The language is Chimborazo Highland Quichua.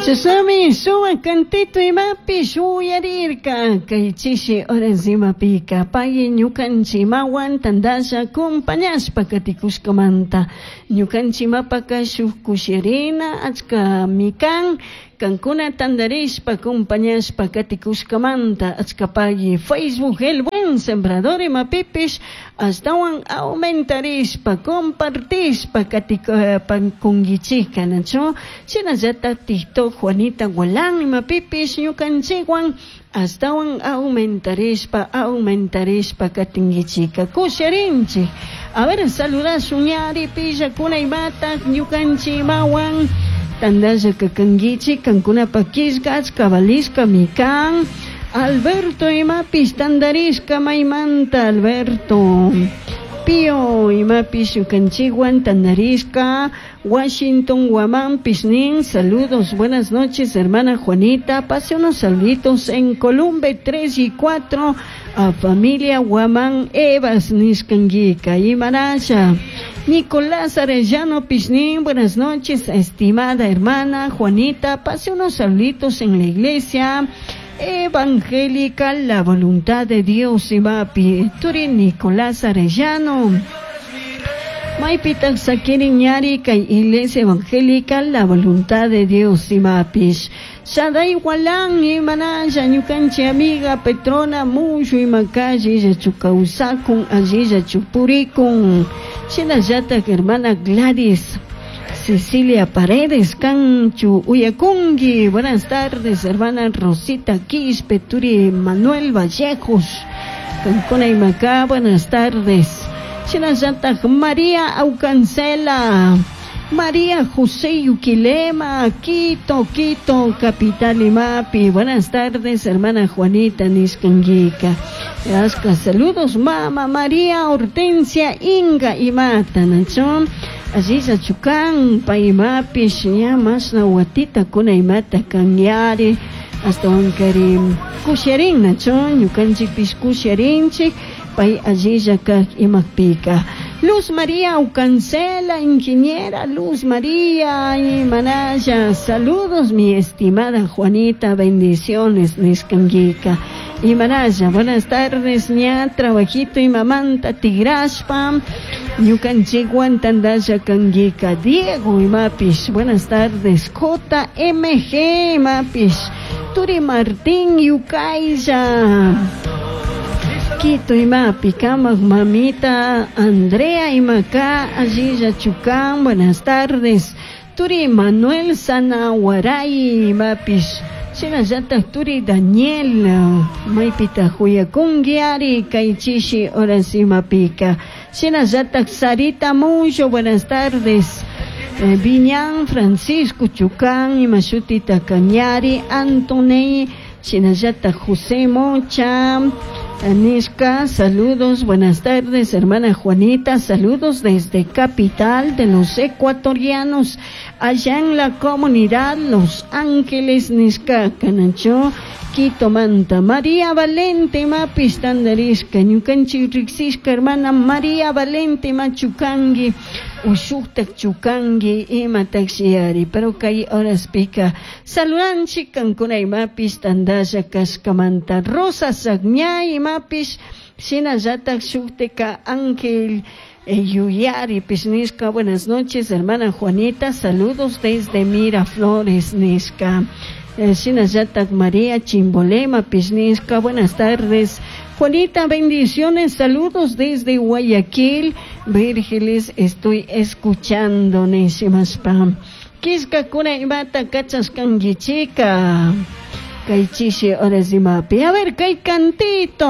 Chashnami sumac cantito imapish uyarirca. Cai chishi horas imapica pagui ñucanchimahuan tandalla acompañashpa caticushcamanta ñucanchimapaca shuj cushirina achcami can. Cancuna tandarishpa acompañashpa caticushcamanta achca pagui Facebook El Buen Sembrador imapipish ashtahuan aumentarishpa compartishpa caticunguichijca, nachu? Shinallata TikTok Juanita Gualán imapipish ñucanchihuan ashtahuan aumentarishpa aumentarishpa catinguichica cusharinchij. A ver, saludashun ñari pillacuna imata ñucanchimahuan tandalla cacanguichij cancunapak quillca achca valishcami can. Alberto imapish tandarishca maymanta Alberto. Pío imapish ñucanchihuan tandarishca Washington Guamán nin, saludos, buenas noches, hermana Juanita. Pase unos saluditos en Columbe 3 y 4 a familia Guamán Evas nishcanguica y Marasha. Nicolás Arellano Pishnín, buenas noches, estimada hermana Juanita. Pase unos saluditos en la iglesia evangélica La Voluntad de Dios imapi. Turi Nicolás Arellano. Maypitaq sakirin ñari kay iglesia evangélica La Voluntad de Dios imapish. Shaday Walan imanalla ñukanchik amiga Petrona Mushu imakalle llachu kawsakun allillachu purikun. Shinallatak hermana Gladys Cecilia Paredes Canchu Uyakungi. Buenas tardes, hermana Rosita Quispe, Turi Manuel Vallejos. Cancuna Imacá, buenas tardes. Shinallatak María Aucancela. María José Yuquilema, Quito, Quito, Capital Imapi. Buenas tardes, hermana Juanita Niscanguica. Asca, saludos, mama María Hortensia Inga Imata, Nacho. Aziza Chucán, Paimapi, ña masna watita kuna imata kanyari. Hasta wankari kusharin, nacho, ñukanchikpish kusharinchik, pay allilla kak imakpika. Luz María Ucancela, ingeniera Luz María y Manaya, saludos mi estimada Juanita, bendiciones nishkanguika. Y Manaya, buenas tardes, ña, trabajito y mamanta tigrashpa, ñukanchikwan tandalla kanguika. Diego y Mapis, buenas tardes, JMG Mapis, Turi Martín Yucaya. Quito imapi kamak mamita Andrea imacá allilla Chucán, buenas tardes. Turi Manuel Sanahuaray imapis. Shinallata Turi Daniel maypita huyakunguiari kaychishi horas imapika. Shinallata Sarita Mucho, buenas tardes. Viñán Francisco Chucán imashutita Cañari Antonei Shinallata José Mocha Anishka, saludos, buenas tardes, hermana Juanita, saludos desde capital de los ecuatorianos, allá en la comunidad Los Ángeles, Nishka, Canacho, Quito Manta, María Valente, Mapis, Tandarishka, Ñukanchi Rixishka, hermana María Valente, Machucangui, Ushuktak Chucangui, ima taxiari, pero kay horas pica, saludanchi, kankuna imapis, tandalla, Cascamanta, Rosa Sagñay, imapis, shinallatak shukteka Ángel Yuyari Pisnisca, buenas noches, hermana Juanita, saludos desde Miraflores, Nisca. Shinallatak María Chimbolema Pisnisca, buenas tardes. Juanita, bendiciones, saludos desde Guayaquil. Vírgeles, estoy escuchando, Nisimaspam. Kiska kuna imata kachas kanguichica. Kay chishi horas imapi. A ver, kay cantito.